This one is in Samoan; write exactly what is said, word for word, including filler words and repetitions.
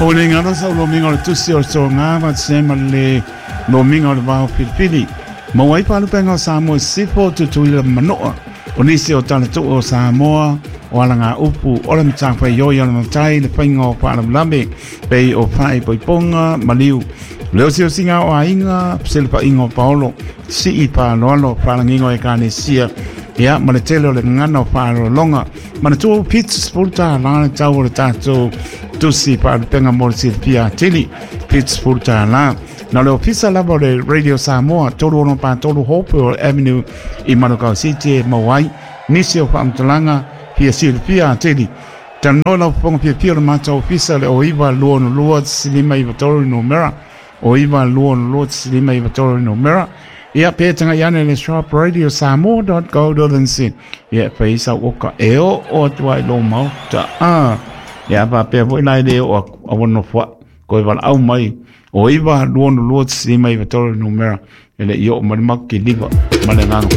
O le ngalo sa lomiga o le tusi o le soga faatasi ai ma le lomiga o le vao filifili. Maua ai faalupega o Samoa i sisifo, Tutuila ma Manua. O nisi o talatuu o Samoa, o alagaupu o le matafaioi o le matai le faiga o faalavelave pei o faaipoipoga maliu. Le osiosiga o aiga, fesilafaiga o paolo, sii faaaloalo, faalagiga o ekalesia, ia ma le tele o le gagana o faaaloaloga. Manatua fitu sefulu tālā le tau o le tatou tusi faalupega mo le silafia atili, fitu sefulu tālā. Na o le ofisa lava o le Radio Samoa, tolu ono pa tolu Hopewell Avenue i Manukau City e maua ai nisi o faamatalaga fia silafia atili. Talanoa lau fofoga fiafia o le matou ofisa le o iva lua ono lua lima iva tolu le numera, o iva lua ono lua lima iva tolu le numera. Ia pe taga'i ane le shop radio samoa dot co dot nz. Ia fai sau oka e oo atu ai lou maota. Ah, ia faapea foi la e le oo aku a ua nofoa'i koe valaau mai o iva lua ono lua lima iva tolu le numera e le i oo mai le makiliva ma le agaga.